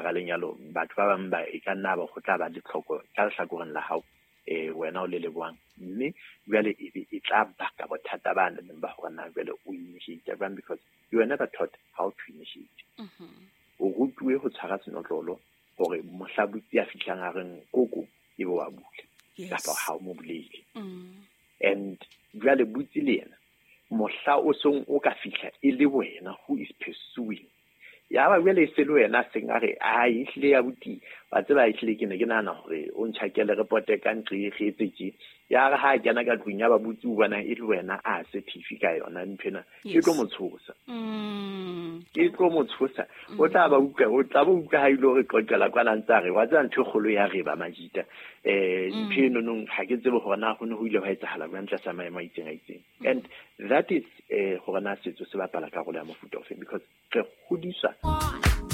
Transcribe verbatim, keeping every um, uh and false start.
hara lenyalo batho ba bang ba e ka nna ba go tla ba le tlhoko ka lehlakoreng la hao eh wena o le Lebohang, mme jwale e be e tla baka bothata ba neng ba hore na jwale o initiate jwang, because you were never taught how to initiate. O rutuwe ho tshwara senotlolo hore mohla butsi a fihlang a reng koko e be wa bula, kapa ha o mo bulele. And jwale butsi le yena mohla o song o ka fihla e le wena who is pursuing, ya ba jwale e se le wena seng a re a ehlile ya buti wa tseba ehlile ke ne ke nahana hore o ntjhakele repote ka nqe re etse tje. Ya re ha a kena ka tlung ya ba butsi o bona e le wena a se thifi ka yona nthwena, e tlo mo tshosa. E tlo mo tshosa. O tla ba utlwa, o tla ba utlwa ha ile hore qoqela kwana ntse a re wa tseba ntho e kgolo ya re ba majita. Eh ntho eno nong ha ke tsebe hore na ho ne ho ile hwa etsahala jwang tlasa maemo a itseng a itseng. And that is eh hore na setso se bapala karolo ya mofuta ofeng, because re hodiswa.